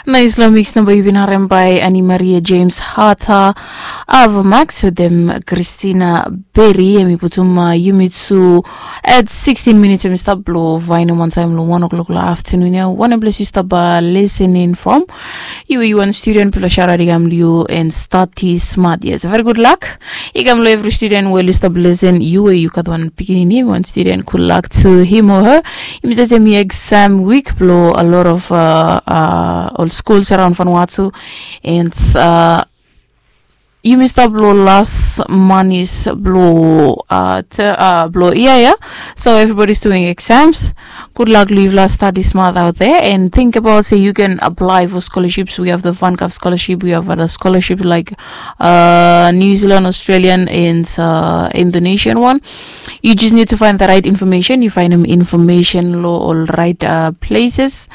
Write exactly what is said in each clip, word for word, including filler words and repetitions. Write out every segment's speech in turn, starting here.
Nais long mix namba yu bin harem by Annie Maria James Harter, Ava Max wetem Christina Berry. Em i putum uh, yumi tu at sixteen minutes em i stap blo vainum wantaim long one o'clock long afternoon ya. Wanem ples yu stap uh, listening from? Yu yu wan student blo sharari kam liu and study smart. Yes, very good luck. I kam long every student we yu stap listen, yu we yu gat wan pikinini, wan student, good luck to him or her. Yumi save mi exam week blo a lot of uh, uh, ol schools around Vanuatu, and uh, yumi stap blo last manis blo uh, te, uh, blo ia ia. So everybody's doing exams. Good luck, live last study smart out there, and think about say you can apply for scholarships. We have the Vancouver scholarship, we have other scholarships like uh, New Zealand, Australian, and uh, Indonesian one. You just need to find the right information. You find them information lo all right uh, places,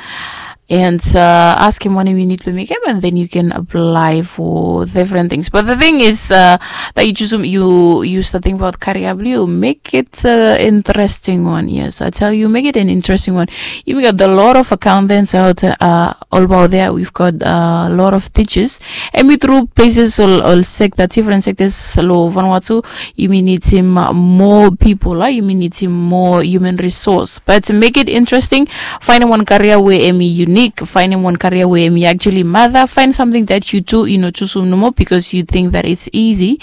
and uh, ask him what you need to make him, and then you can apply for different things. But the thing is uh, that you choose you use the thing about career blue, make it uh, interesting one. Yes, I tell you, make it an interesting one. You got a lot of accountants out uh, all about there. We've got a lot of teachers, and we through places all, all sector, different sectors lo Vanuatu. Yumi nidim uh, more people, uh, yumi nidim more human resource. But make it interesting. Finding one career where emi unique, finding one career where emi actually mother, find something that you do, you know, chusum nomo because you think that it's easy.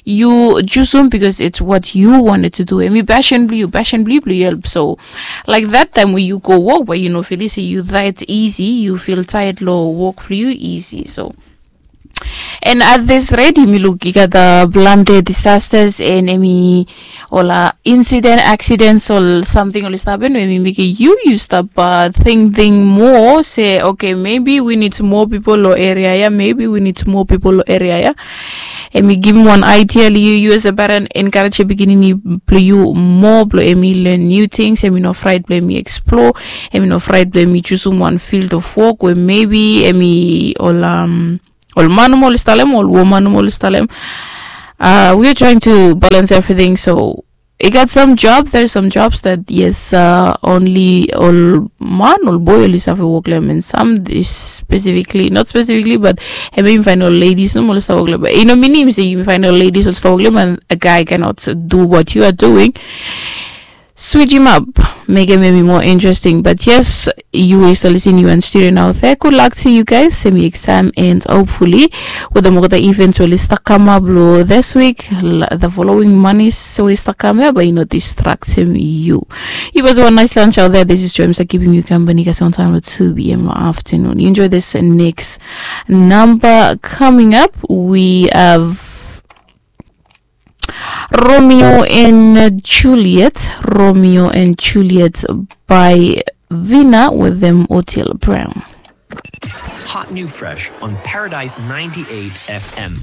You chusum because it's what you wanted to do. Emi passion blue, passion blue blue help. So like that time where you go work, where you know feel say you that easy, you feel tired lo work blue easy. So and at this rate, yumi luk i gat uh, plante disasters and emi ol uh, incident, accidents, ol something ol stap happen, emi make you you stop uh, think think more. Say okay, maybe we need more people lo area ya. Maybe we need more people lo area ya. Emi give me one idea li you, you as a parent encourage your beginning blo you more blo emi learn new things, emi no fright blo emi explore, emi no fright blo emi choose one field of work where maybe emi ol um, ol man nomo ol i stap long em, ol woman nomo ol i stap long em. Uh, we are trying to balance everything. So I got some jobs. There's some jobs that yes, uh, only ol man, ol boy ol i save work long em, and some is specifically, not specifically, but and maybe find ol ladies nomo ol i save work long em. But you know, meaning say you find ol ladies ol i save work long em, and a guy cannot do what you are doing. Switch him up, make him maybe more interesting. But yes, you is listening, you and student out there. Good luck to you guys. Semi exam and hopefully with the more the events will start come up lo this week, the following money so we start come up, but you know distract him you. It was one nice lunch out there. This is James that keeping you company kasi on time lo two p.m. lo afternoon. You enjoy this next number coming up. We have Romeo and Juliet, Romeo and Juliet by Vina with them Otil Brown. Hot new fresh on Paradise ninety-eight F M.